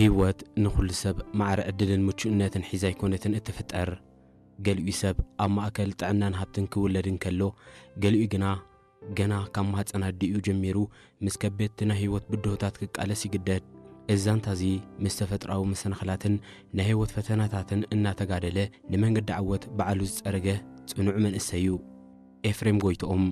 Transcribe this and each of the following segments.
ህይወት ንኹሉ ሰብ ማዕረ ዕድልን ምቹእነትን ሒዛ ኣይኮነትን እትፍጠር። ገሊኡ ሰብ ኣብ ማእከል ጥዕናን ሃብትን ክውለድ እንከሎ፣ ገሊኡ ግና ገና ካብ ማህጸን ኣዲኡ ጀሚሩ ምስ ከበድቲ ናይ ህይወት ብድሆታት ክቃለስ ይግደድ። እዚ ዛንታ እዚ ምስ ተፈጥሮኣዊ መሰናኽላትን ናይ ህይወት ፈተናታትን እናተጋደለ ንመንገዲ ዓወት ባዕሉ ዝጸረገ ጽኑዕ መንእሰይ እዩ። ኤፍሬም ጎይትኦም።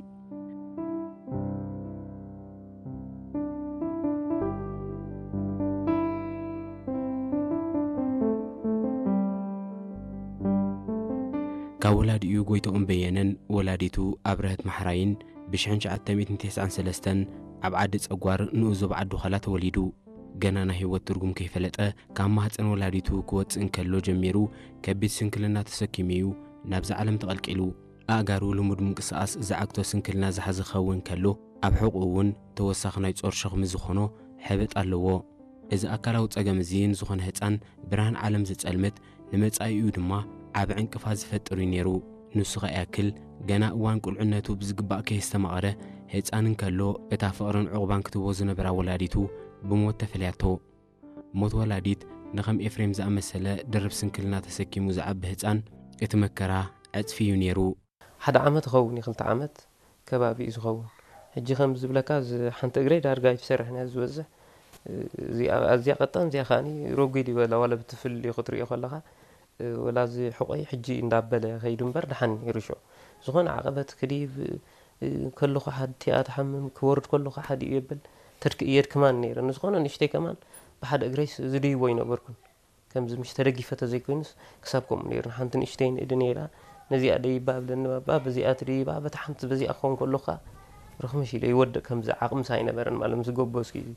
ካብ ወላዲኡ ጎይትኦም በየነን ወላዲቱ ኣብረህት ማሕራይን ብሽሕን ትሽዓተ ሚእትን ተስዓን ሰለስተን ኣብ ዓዲ ጸጓር ንኡስ ዞባ ዓዲ ዃላ ተወሊዱ። ገና ናይ ህይወት ትርጉም ከይፈለጠ ካብ ማህጸን ወላዲቱ ክወጽእ እንከሎ ጀሚሩ ከቢድ ስንክልና ተሰኪሙ እዩ ናብዛ ዓለም ተቐልቂሉ። ኣእጋሩ ልሙድ ምንቅስቓስ ዝዓግቶ ስንክልና ዝሓዘ ክኸውን ከሎ፣ ኣብ ሕቖኡ እውን ተወሳኺ ናይ ጾር ሸኽሚ ዝኾኖ ሕበጥ ኣለዎ። እዚ ኣካላዊ ጸገም እዚ ንዝኾነ ህጻን ብርሃን ዓለም ዘጸልምት፣ ንመጻኢኡ ድማ ዓቢ ዕንቅፋት ዝፈጥር እዩ ነይሩ። ንሱ ከኣ ይኣክል፣ ገና እዋን ቁልዕነቱ ብዝግባእ ከየስተማቐረ፣ ህጻን እንከሎ እታ ፍቕርን ዕቑባን ክትህቦ ዝነበራ ወላዲቱ ብሞት ተፈልያቶ። ሞት ወላዲት ንኸም ኤፍሬም ዝኣመሰለ ድርብ ስንክልና ተሰኪሙ ዝዓቢ ህጻን እቲ መከራ ዕጽፊ እዩ ነይሩ። ሓደ ዓመት ይኸውን እዩ፣ ክልተ ዓመት ከባቢ እዩ ዝኸውን። ሕጂ ከም ዝብለካ፣ እዚ ሓንቲ እግረይ ዳርጋ ኣይትሰርሕን እያ ዝበዝሕ። እዚኣ ኣዝያ ቀጣን፣ እዚኣ ከዓኒ ረጒድ ይበላ፣ ዋላ ብትፍልልዩ ክትርእዮ ከለኻ፣ ወላ እዚ ሕቖይ ሕጂ እንዳበለ ከይዱ እምበር ደሓን ነይሩ ሽዑ። ዝኾነ ዓቐበት ክድይብ ከለኹ ሓድ እቲኣ ትሓምም፣ ክወርድ ከለኹ ሓድ እዩ የብል፣ ተድክ-፣ የድክማን ነይረ። ንዝኾነ ንእሽተይ ከማን ብሓደ እግረይስ ዝድይቦ ኣይነበርኩን። ከምዚ ምሽ ተደጊፈ ተዘይኮይኑስ ክሳብ ከምኡ ነይሩ። ሓንቲ ንእሽተይ ንእዲ ነይራ፣ ነዚኣ ደይባ ብለኒ ባባ፣ በዚኣ ትድይባ፣ በታ ሓንቲ በዚኣ ክኸውን ከሎ ኸኣ ርኽምሽ ኢለ ይወድቕ፣ ከምዚ ዓቕምስ ኣይነበረን ማለት ምስ ጎበዝኩ እዩ።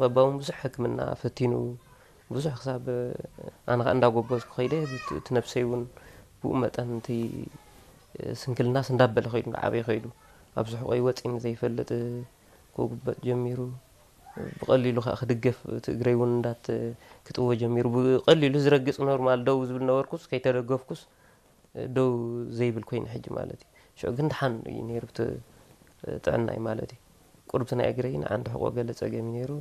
ባባ እውን ብዙሕ ሕክምና ፈቲኑ፣ ብዙሕ ክሳብ ኣነ ኸኣ እንዳጎበዝኩ ከይደ፣ እቲ ነብሰይ እውን ብኡ መጠን እቲ ስንክልናስ እንዳበለ ከይዱ፣ እንዳዓበየ ከይዱ፣ ኣብዚ ሕቖይ ወጺኒ ዘይፈልጥ ክጉበጥ ጀሚሩ። ብቐሊሉ ከኣ ክድገፍ፣ እቲ እግረይ እውን እንዳት-፣ ክጥወ ጀሚሩ። ብቐሊሉ ዝረግጽ ኖርማል ደው ዝብል ነበርኩስ፣ ከይተደገፍኩስ ደው ዘይብል ኮይነ ሕጂ ማለት እዩ። ሽዑ ግን ደሓን እዩ ነይሩ እቲ ጥዕናይ ማለት እዩ። ቁርብቲ ናይ እግረይ ንዓንዲ ሕቖ ገለ ጸገም እዩ ነይሩ።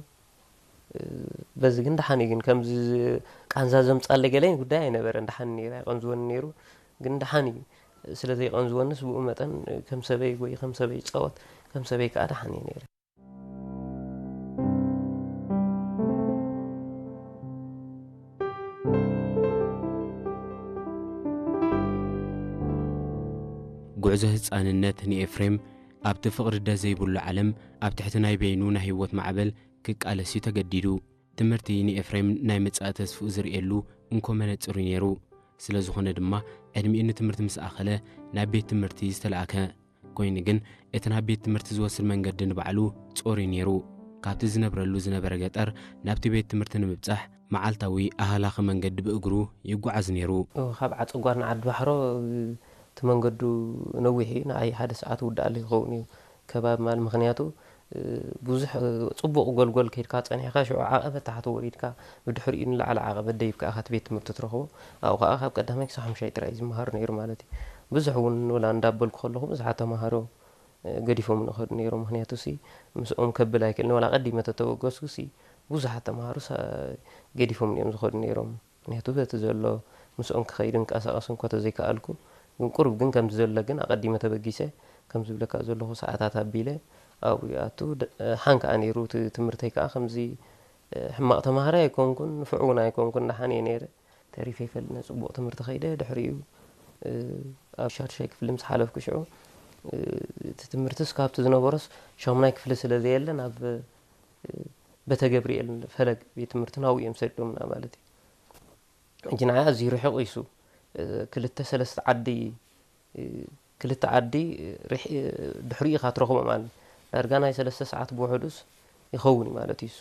በዚ ግን ደሓን እዩ። ግን ከምዚ ቃንዛ ዘምጻለይ ገለ ጉዳይ ኣይነበረን። ደሓን ነይሩ፣ ኣይቐንዝወኒ ነይሩ። ግን ደሓን እዩ። ስለ ዘይቐንዝወንስ ብኡ መጠን ከም ሰበይ ጎይ፣ ከም ሰበይ ይጻወት፣ ከም ሰበይ ከኣ ደሓን እየ ነይረ። ጉዕዞ ህጻንነት ንኤፍሬም ኣብቲ ፍቕሪ ደስ ዘይብሉ ዓለም ኣብ ትሕቲ ናይ በይኑ ናይ ህይወት ማዕበል ክቃለስ እዩ ተገዲዱ። ትምህርቲ ንኤፍሬም ናይ መጻኢ ተስፍኡ ዝርእየሉ እንኮ መነጽር እዩ ነይሩ። ስለ ዝኾነ ድማ ዕድሚኡ ንትምህርቲ ምስ ኣኸለ ናብ ቤት ትምህርቲ ዝተላእከ። ኮይኑ ግን እቲ ናብ ቤት ትምህርቲ ዝወስድ መንገዲ ንባዕሉ ጾር እዩ ነይሩ። ካብቲ ዝነብረሉ ዝነበረ ገጠር ናብቲ ቤት ትምህርቲ ንምብጻሕ መዓልታዊ ኣህላኺ መንገዲ ብእግሩ ይጓዓዝ ነይሩ። ኦ፣ ካብ ዓጸጓር ንዓዲ ባሕሮ፣ እቲ መንገዱ ነዊሕ እዩ። ንዓይ ሓደ ሰዓት ውዳእ ኣሎ ይኸውን እዩ ከባቢ ማለት፣ ምኽንያቱ፣ እ፣ ብዙሕ፣ እ፣ ጽቡቕ ጎልጎል ከይድካ ጸኒሕካ ሽዑ ዓቐበት ታሕቲ ወሪድካ ብድሕሪኡ ንላዕሊ ዓቐበት ደይብካ ኢኻ እቲ ቤት ትምህርቲ ትረኽቦ። ኣብኡ ኸኣ ካብ ቀዳማይ ክሳብ ሓሙሻይ ጥራይ እዩ ዝመሃር ነይሩ ማለት እዩ። ብዙሕ እውን ወላ እንዳበልኩ ከለኹ ብዙሓት ተማሃሮ፣ እ፣ ገዲፎም ንኸዱ ነይሮም። ምኽንያቱ ሲ ምስኦም ከብል ኣይክእልን። ወላ ቀዲመ ተተበገስኩ ሲ ብዙሓት ተማሃሮ ሳ-፣ ገዲፎም እዮም ዝኸዱ ነይሮም። ምኽንያቱ በቲ ዘሎ ምስኦም ክኸይድ እንቀሳቐስ እንኳ ተዘይከኣልኩ፣ ግን ቁሩብ ግን ከምዚ ዘሎ ግን ኣቐዲመ ተበጊሰ፣ ከም ዝብለካ ዘለኹ ሰዓታት ኣቢለ ኣብኡ ይኣቱ። ደ-፣ ሓን ከኣ ነይሩ እቲ ትምህርተይ ከኣ ከምዚ፣ እ፣ ሕማቕ ተማሃራይ ኣይኮንኩን፣ ንፉዕ እውን ኣይኮንኩን፣ ደሓን እየ ነይረ። ተሪፈ ኣይፈልጥን፣ ጽቡቕ ትምህርቲ ከይደ። ድሕሪኡ፣ እ፣ ኣብ ሻድሻይ ክፍሊ ምስ ሓለፍኩ ሽዑ፣ እ፣ እቲ ትምህርትስ ካብቲ ዝነበሮስ ሻሙናይ ክፍሊ ስለ ዘየለ ናብ፣ እ፣ ቤተ ገብርኤል ፈለግ ቤት ትምህርቲ ናብኡ እዮም ሰዲዶምና ማለት እዩ። ሕጂ ንዓይ ኣዝዩ ርሑቕ እዩ እሱ። እ፣ ክልተ ሰለስተ ዓዲ፣ እ፣ ክልተ ዓዲ፣ እ፣ ርሕ-፣ እ፣ ድሕሪኡ ኢኻ ትረኽቦ ማለት እዩ። ዳርጋ ናይ ሰለስተ ሰዓት ብውሕዱስ ይኸውን እዩ ማለት እዩ እሱ።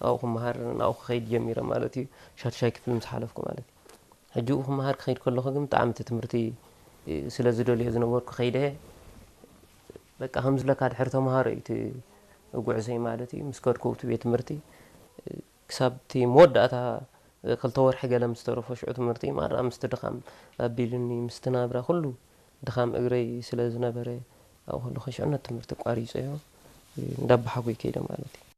ኣብኡ ክመሃር፣ ናብኡ ክኸይድ ጀሚረ ማለት እዩ። ሻድሻይ ክፍሊ ምስ ሓለፍኩ ማለት እዩ። ሕጂ ኣብኡ ክመሃር ክኸይድ ከለኹ ግን ብጣዕሚ እቲ ትምህርቲ፣ እ፣ ስለ ዝደልዮ ዝነበርኩ ከይደ፣ በቃ ከም ዝብለካ ድሕሪ ተምሃሮ እዩ እቲ ጉዕዞይ ማለት እዩ። ምስ ከድኩ ኣብቲ ቤት ትምህርቲ፣ እ፣ ክሳብ እቲ መወዳእታ ክልተ ወርሒ ገለ ምስ ተረፎ ሽዑ ትምህርቲ ማራ ምስቲ ድኻም ኣቢሉኒ፣ ምስቲ ናብራ ኩሉ ድኻም እግረይ ስለ ዝነበረ ኣብኡ ከለኹ ሽዑ ነቲ ትምህርቲ ኣቋሪጸዮ እንዳበሓጎይ ከይደ ማለት እዩ።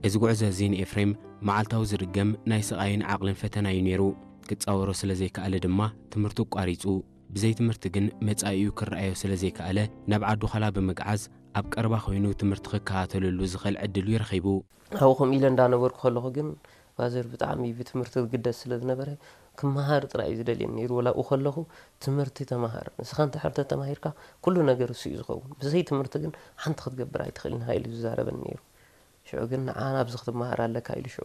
እዚ ጉዕዞ እዚ ንኤፍሬም መዓልታዊ ዝድገም ናይ ስቓይን ዓቕልን ፈተና እዩ ነይሩ። ክጻወሮ ስለ ዘይከኣለ ድማ ትምህርቱ ኣቋሪጹ። ብዘይ ትምህርቲ ግን መጻኢኡ ክረኣዮ ስለ ዘይከኣለ ናብ ዓዱ ዃላ ብምግዓዝ ኣብ ቀረባ ኮይኑ ትምህርቲ ክከታተለሉ ዝኽእል ዕድል እዩ ረኺቡ። ኣብኡ ከምኡ ኢለ እንዳነበርኩ ከለኹ ግን ፋዘር ብጣዕሚ ብትምህርቲ ዝግደስ ስለ ዝነበረ ክመሃር ጥራይ እዩ ዝደልየኒ ነይሩ። ወላ ኣብኡ ከለኹ ትምህርቲ ተመሃር፣ ንስኻ እንተ ሕርተ ተማሂርካ ኩሉ ነገር እሱ እዩ ዝኸውን፣ ብዘይ ትምህርቲ ግን ሓንቲ ክትገብር ኣይትኽእልን ኢኻ ኢሉ ዝዛረበኒ ነይሩ። ሽዑ ግን ንዓ ናብዚ ክትመሃር ኣለካ ኢሉ ሽዑ